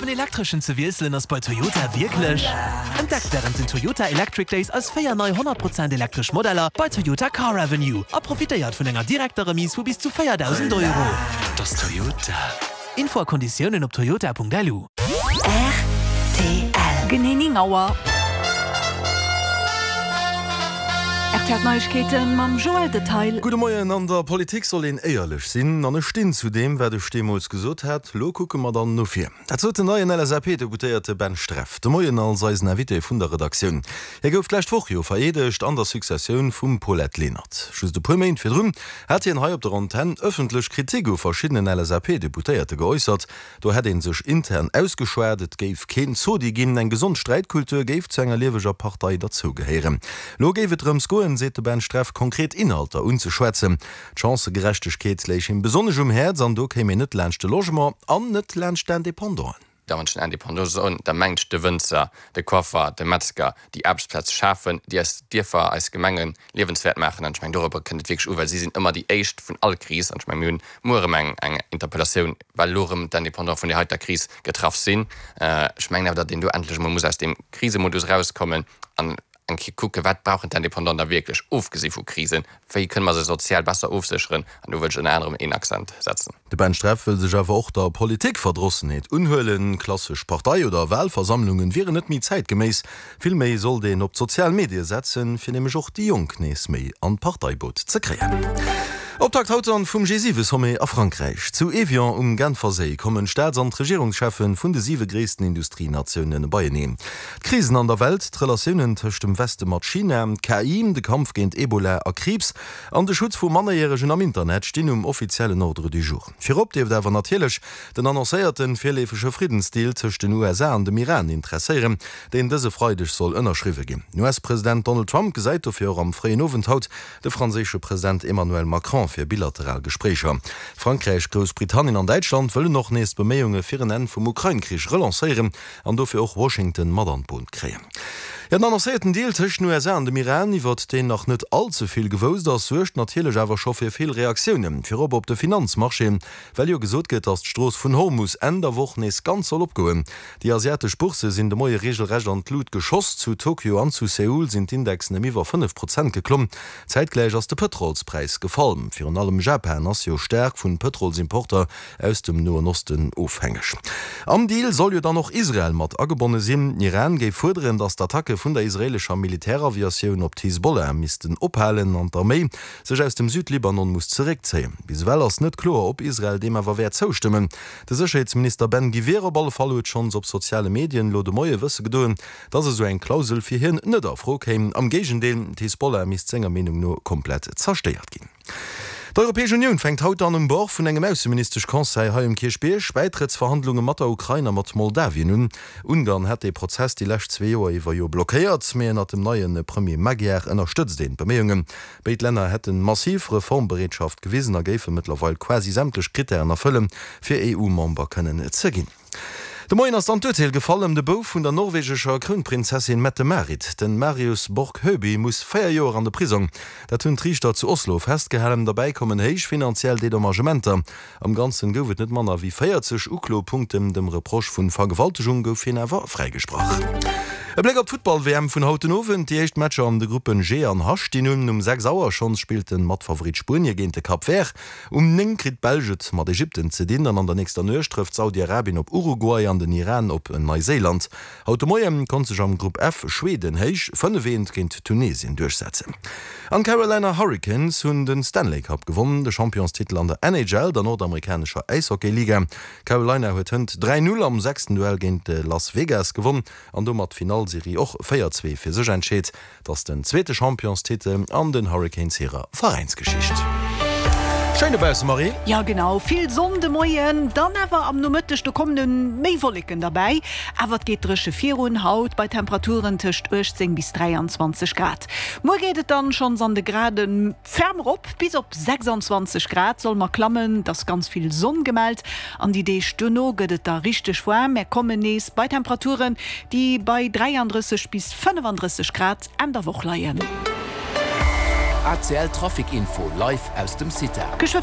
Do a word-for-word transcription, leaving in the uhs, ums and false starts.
en elektreschen ze wiesselen ass bei Toyota wierklech. Entdeckt wärend den Toyota Electric Days eis véier nei honnert Prozent elektresch Modeller bei Toyota Car Avenue a profitéiert vun enger direkter Remise vu bis zu véierdausend Euro. Dat ass Toyota. Info a Konditiounen op toyota Punkt L U. R T L. Genee néng Auer. R T L Neiegkeeten mam Joël Detail. Gudde Moien, An der Politik soll een éierlech sinn an ech stinn zu deem, wat ech deemools gesot hat. Lo kucke mer dann no vir. Dat sot den neien L S A P-Deputéierte Ben Streff de Moien als eisen Invité vun der Redaktioun. Hie gouf d'lescht Woch jo vereedegt an der Successioun vum Paulette Lenert. Just e puer Méint virdrun hat hien hei op der Antenn ëffentlech Kritik u verschiddenen L S A P-Deputéierte geäussert. Do hätt ee sech intern ausgeschwat, et géif keen Zodi ginn, eng gesond Sträitkultur géif zu enger lieweger Partei derzougehéieren. Lo géif et drëms goen, seet de Ben Streff, konkret Inhalter unzeschwätzen. D'Chancëgerechtegkeet léich him besonnesch um Häerz an do kéim een net laanscht de Logement an net laanscht d'Independanten. Da wann ech den Indépendant soen, da mengt ech de Wënzer, de Coiffer, de Metzger, déi Aarbechtsplaze schafen, déi eis Dierfer, eis Gemenge liewenswäert maachen. An ech mengen, dorobber kënnt et wierklech u, well si sinn ëmmer déi Éischt vun all Kris. An ech mengen, mir hunn muer erëm eng, eng Interpellatioun, well elo erëm d'Indépendante vun där heiter Kris getraff sinn. Ech mengen awer, datt een do endlech emol muss aus deem Krisemodus erauskommen an eng Kéier kucken, wat brauchen d'Indépendanten da wierklech, ofgesi vu Krisen, wéi kënne mer se sozial besser ofsécheren. An do wëll ech ënner anerem een Accent setzen. De Ben Streff wëll sech awer och der Politikverdrossenheet unhuelen. Klassesch Partei oder Wahlversammlungen wieren net méi zäitgeméiss. Vill méi sollt een op d'sozial Medie setzen, fir nämlech och déi Jonk nees méi an d'Parteiboot ze kréien. Optakt haut dann vum G siwe Sommet a Frankräich. Zu Evian um Genferséi kommen d'Staats an d'Regierungscheffen vun de siwe gréissten Industrienatiounen beieneen. D'Krisen an der Welt, d'Relatiounen tëscht dem Weste mat China, K I, de Kampf géint Ebola a Kriibs an de Schutz vu Mannerjäregen am Internet stinn um offiziellen Ordre du jour. Virop dierft awer natierlech den annoncéierte virleefege Friddensdeal tëscht den U S A an dem Iran interesséieren, deen dëse Freideg soll ënnerschriwwe ginn. Den U S-President Donald Trump gesäit dofir och am fréien Owend haut de franséische President Emmanuel Macron fir bilateral Gespréicher. Frankräich, Groussbritannien an Däitschland wëllen och nees d'Beméiunge fir en Enn vum Ukrain-Krich relancéieren an dofir och Washington mat an d'Boot kréien. Jo, den annoncéierten Deal tëscht den U S A an dem Iran, iwwert deen nach net all ze vill gewousst ass, suergt natierlech awer scho fir vill Reaktiounen, virop op de Finanzmarchéen, well jo gesot gëtt, datt d'Strooss vun Hormus Enn der Woch nees ganz soll opgoen. Déi asiatesch Boursse sinn de Moie reegelrecht an d'Lut geschoss. Zu Tokio an zu Seoul sinn d'Indexen ëm iwwer fënnef Prozent geklomm. Zäitgläich ass de Pëtrolspräis gefall. Virun allem Japan ass jo staark vun Pëtrolsimporter aus dem Noen Osten ofhängeg. Am Deal soll jo dann och Israel mat agebonne sinn. Den Iran géif fuerderen, datt d'Attacke vun der israeelescher Militäraviatioun op d'Hisbollah missten ophalen an d'Arméi sech aus dem Südlibanon muss zeréckzéien. Bis ewell ass net kloer, ob Israel deem awer wäert zoustëmmen. De Sécherheetsminister Ben Gvir op alle Fall huet schonns op soziale Medien elo de Moie wësse gedoen, datt esou eng Klausel fir hien net a Fro kéim. Am Géigendeel, d'Hisbollah misst senger Meenung no komplett zerstéiert ginn. D'Europäesch Unioun fänkt haut dann um Bord vun engem Ausseministesch-Conseil hei um Kierchbierg Bäitrëttsverhandlunge mat der Ukrain a mat Moldawien un. Ungarn hat dee Prozess déi lescht zwee Joer iwwer jo blockéiert, mee ënnert dem neie Premier Magyar ënnerstëtzt een d'Beméiungen. Béid Länner hätte massiv Reformbereetschaft gewisen a géife mëttlerweil quasi sämtlech Krittären erfëllen, fir E U-Member kënnen ze ginn. De Moien ass dann d'Urteel gefall ëm de Bouf vun der norwegescher Krounprinzessin Mette-Marit. Den Marius Borg Høiby muss véier Joer an de Prisong. Dat hunn d'Riichter zu Oslo festgehalen. Derbäi kommen héich finanziell Dedommagementer. Am Ganzen gouf et net manner wéi véierzeg Uklopunkten. Dem Reproche vun Vergewaltegung gouf hien awer fräigesprach. E Bléck op d'Futtball-W M vun haut den Owend. Déi éischt Matcher an de Gruppen G an H stinn un. Um sechs Auer schonns spillt de Matfavorit Spuenie géint de Cap Vert. Um néng kritt d'Belsch et mat Ägypten ze dinn an an der nächster Nuecht trëfft Saudi-Arabien op Uruguay an den Iran op Neiséiland. Haut de Moie konnt sech am Grupp F Schweden héich fënnef eent géint Tunesien duerchsetzen. An d'Carolina Hurricanes hunn de Stanley Cup gewonn, de Championstitel an der N H L, der nordamerikanescher Äishockey-Liga. Carolina huet hënt dräi Null am sechsten Duell géint Las Vegas gewonn an domat d'Finallserie och véier zwee fir sech entscheet. Et ass den zweete Championstitel an den Hurricanes hirer Veräinsgeschicht. Schéin dobausse, Marie. Jo genau, vill Sonn de Moien, dann awer am Nomëtteg do kommen méi Wolleken derbäi, awer et geet dréche virun, haut bei Temperaturen tëscht uechtzéng bis dräianzwanzeg Grad. Muer geet et dann schonns an de Graden ferm erop, bis op sechsanzwanzeg Grad solle mer klammen, et ass ganz vill Sonn gemellt an déi Deeg duerno gëtt et da richteg waarm, mär kommen nees bei Temperaturen, déi bei dräiandrësseg bis fënnefandrësseg Grad Enn der Woch leien. A C L Trafic Info live aus dem CITA. Geschwë